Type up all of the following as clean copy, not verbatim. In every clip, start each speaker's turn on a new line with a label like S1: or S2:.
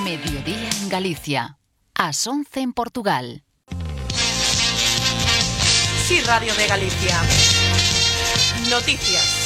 S1: Mediodía en Galicia, ás 11 en Portugal.
S2: Sí, Radio de Galicia. Noticias.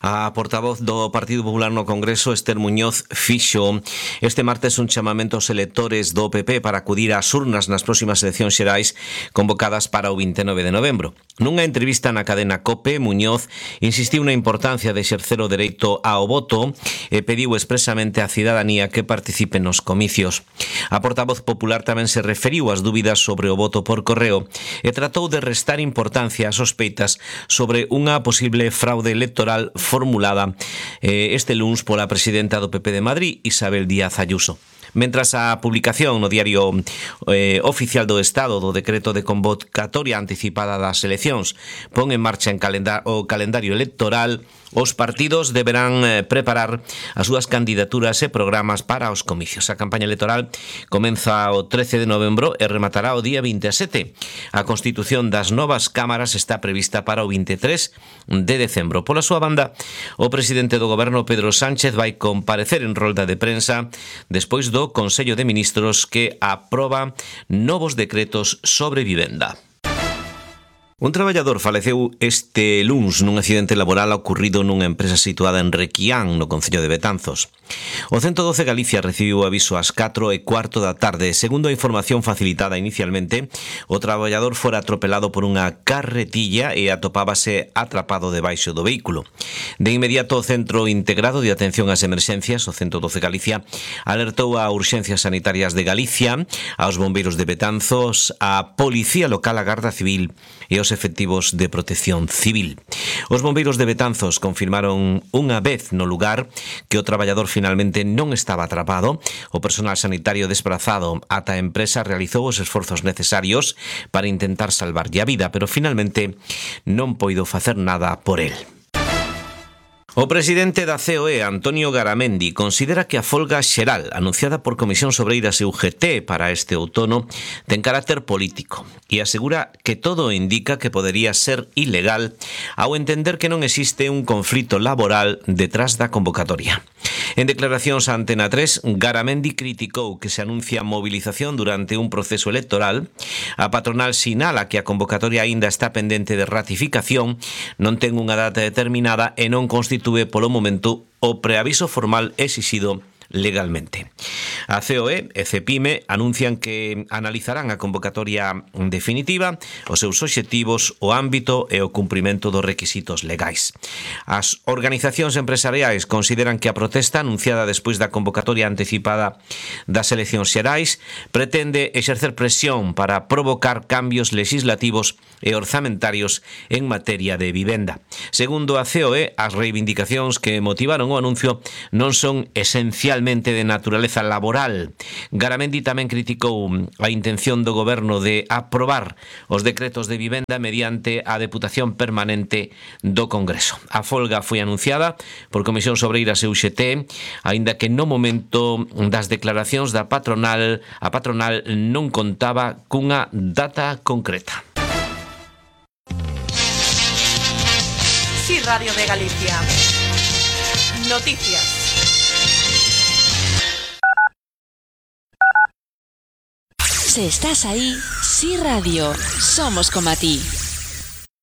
S3: A portavoz do Partido Popular no Congreso, Esther Muñoz, fixo este martes un chamamento aos electores do PP para acudir ás urnas nas próximas eleccións xerais convocadas para o 29 de novembro. Nunha entrevista na cadena COPE, Muñoz insistiu na importancia de exercer o dereito ao voto e pediu expresamente á cidadanía que participe nos comicios. A portavoz popular tamén se referiu ás dúbidas sobre o voto por correo e tratou de restar importancia ás sospeitas sobre unha posible fraude electoral formulada este luns pola presidenta do PP de Madrid, Isabel Díaz Ayuso. Mentras a publicación no Diario Oficial do Estado do decreto de convocatoria anticipada das eleccións pon en marcha o calendario electoral, os partidos deberán preparar as súas candidaturas e programas para os comicios. A campaña electoral comeza o 13 de novembro e rematará o día 27. A constitución das novas cámaras está prevista para o 23 de decembro. Pola súa banda, o presidente do goberno, Pedro Sánchez, vai comparecer en rolda de prensa despois do Consello de Ministros que aproba novos decretos sobre vivenda. Un traballador faleceu este luns nun accidente laboral ocorrido nunha empresa situada en Requián, no concello de Betanzos. O 112 Galicia recibiu aviso ás 4:15 da tarde. Segundo a información facilitada inicialmente, o traballador fora atropelado por unha carretilla e atopábase atrapado debaixo do vehículo. De inmediato, o Centro Integrado de Atención ás Emerxencias, o 112 Galicia, alertou a Urxencias Sanitarias de Galicia, aos bombeiros de Betanzos, a Policía Local, a Garda Civil e os efectivos de protección civil. Os bombeiros de Betanzos confirmaron unha vez no lugar que o traballador finalmente non estaba atrapado. O personal sanitario desplazado ata a empresa realizou os esforzos necesarios para intentar salvarlle a vida, pero finalmente non poido facer nada por el. O presidente da COE, Antonio Garamendi, considera que a folga xeral anunciada por Comisións Obreiras e UGT para este outono ten carácter político e asegura que todo indica que podería ser ilegal ao entender que non existe un conflito laboral detrás da convocatoria. En declaracións a Antena 3, Garamendi criticou que se anuncia movilización durante un proceso electoral. A patronal sinala que a convocatoria aínda está pendente de ratificación, non ten unha data determinada e non constitúe polo momento o preaviso formal exixido legalmente. A COE e CEPIME anuncian que analizarán a convocatoria definitiva, os seus obxectivos, o ámbito e o cumprimento dos requisitos legais. As organizacións empresariais consideran que a protesta anunciada despois da convocatoria anticipada das eleccións xerais pretende exercer presión para provocar cambios legislativos e orzamentarios en materia de vivenda. Segundo a COE, as reivindicacións que motivaron o anuncio non son esencialmente de naturaleza laboral. Garamendi tamén criticou a intención do goberno de aprobar os decretos de vivenda mediante a Deputación Permanente do Congreso. A folga foi anunciada por Comisións Obreiras e UGT, aínda que no momento das declaracións da patronal, a patronal non contaba cunha data concreta.
S2: Sí, Radio de Galicia. Noticias.
S1: Si estás ahí, Sí Radio, somos como a ti.